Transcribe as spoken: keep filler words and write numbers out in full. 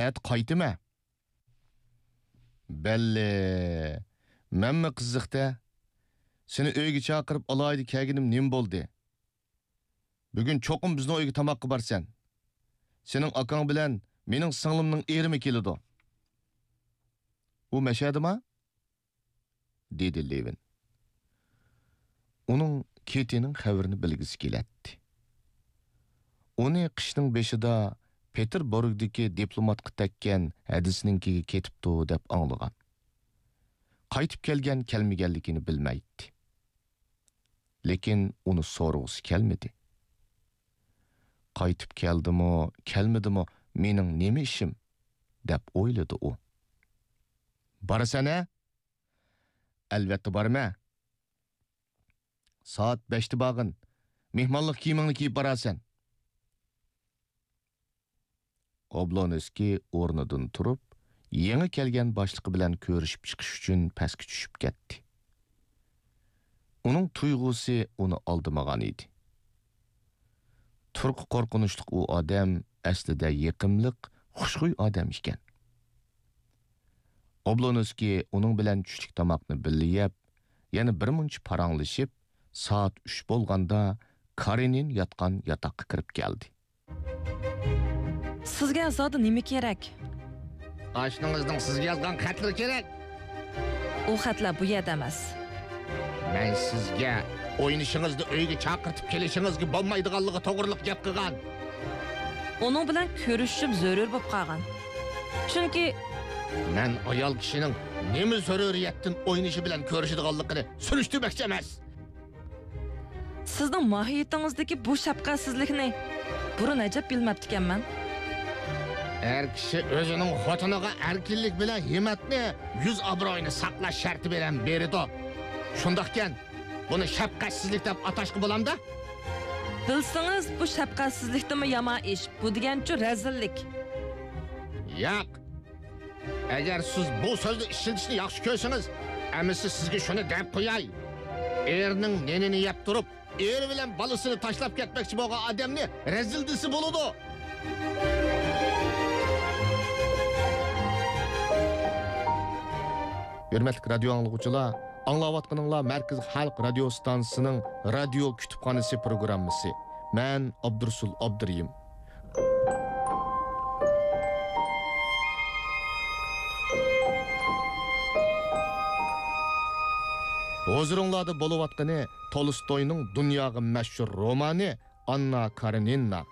ئەتە قايتىمەن. بەللى، مەنمۇ قىزىق-دە. سېنى ئۆيگە چاقىرىپ ئالايىدە كەلگىنىم نېمە بولدى؟ بۈگۈن چوقۇم بىزنىڭ ئۆيگە تاماققا بارىسەن. سېنىڭ ئاكاڭ بىلەن مېنىڭ سىڭلىمنىڭ ئېرىمۇ كېلىدۇ. ئۇ مەشەدىما؟ دېدى لېۋىن. ئۇنىڭ كېتىنىڭ خەۋىرىنى بىلگۈسى كېلەتتى. ئۇنى قىشنىڭ بېشىدا پېتېربۇرگدىكى دىپلوماتقا تەگكەن ھەدىسىنىڭكىگە كېتىپتۇ دەپ ئاڭلىغان. قايتىپ كەلگەن-كەلمىگەنلىكىنى بىلمەيتتى. لېكىن ئۇنى سورىغۇسى كەلمىدى. «قايتىپ كەلدىمۇ، كەلمىدىمۇ، مېنىڭ نېمە ئىشىم؟» دەپ ئويلىدى ئۇ. «بارىسەن ھە؟» «ئەلۋەتتە بارىمەن.» «سائەت بەشتە بارغىن. مېھمانلىق كىيىمىڭنى كىيىپ بارارسەن.» ئوبلونسكىي ئورنىدىن تۇرۇپ، يېڭى كەلگەن باشلىقى بىلەن كۆرۈشۈپ چىقىش ئۈچۈن پەسكە چۈشۈپ كەتتى. ئۇنىڭ تۇيغۇسى ئۇنى ئالدىمىغان ئىدى. تۇرقى قورقۇنچلۇق ئۇ ئادەم ئەسلىدە يېقىملىق، خۇشخۇي ئادەم ئىكەن. ئوبلونسكىي ئۇنىڭ بىلەن چۈشلۈك تاماقنى بىللە يەپ، يەنە بىر مۇنچە پاراڭلىشىپ، سائەت ئۈچ بولغاندا كارېنىن ياتقان ياتاققا كىرىپ كەلدى. سىزگە زادى نېمە كېرەك؟ ئاشنىڭىزنىڭ سىزگە يازغان خەتلىرى كېرەك. ئۇ خەتلەر بۇ يەردە ئەمەس. مەن سىزگە ئوينىشىڭىزنى ئۆيگە چاقىرتىپ كېلىشىڭىزگە بولمايدىغانلىقى توغرىلىق گەپ قىلغان. ئۇنىڭ بىلەن كۆرۈشۈشۈم زۆرۈر بولۇپ قالغان. چۈنكى مەن ئايال كىشىنىڭ نېمە زۆرۈرىيەتتىن ئوينىشى بىلەن كۆرۈشىدىغانلىقىنى سۈرۈشتۈرمەكچى ئەمەس. سىزنىڭ ماھىيىتىڭىزدىكى بۇ شەپقەتسىزلىكنى بۇرۇن ئەجەب بىلمەپتىكەنمەن. ئەر كىشى ئۆزىنىڭ خوتۇنىغا ئەركىنلىك بىلەن ھىممەتنى، يۈز ئابرۇيىنى ساقلاش شەرتى بىلەن بېرىدۇ. شۇنداقكەن، بۇنى شەپقەتسىزلىك دەپ ئاتاشقا بولامدا؟ بىلسىڭىز، بۇ شەپقەتسىزلىكتىنمۇ يامان ئىش. بۇ دېگەنچۇ رەزىللىك. ياق. ئەگەر سىز بۇ سۆزنى ئىشلىتىشنى ياخشى كۆرسىڭىز، ئەمىسە سىزگە شۇنى دەپ قوياي. ئېرىنىڭ نېنىنى يەپ تۇرۇپ، ئېرى بىلەن بالىسىنى تاشلاپ كەتمەكچى بولغان ئادەمنى رەزىل دېسە بولىدۇ. ھۆرمەتلىك رادىيو ئاڭلىغۇچىلار، ئاڭلاۋاتقىنىڭلار مەركىزىي خەلق رادىيو ئىستانسىسىنىڭ رادىيو كۇتۇپخانىسى پروگراممىسى. مەن ئابدۇرۇسۇل ئابدۇرېھىم. ھۇزۇرۇڭلاردا بولۇۋاتقىنى تولستوينىڭ دۇنياغا مەشھۇر رومانى ئاننا كارېنىنا.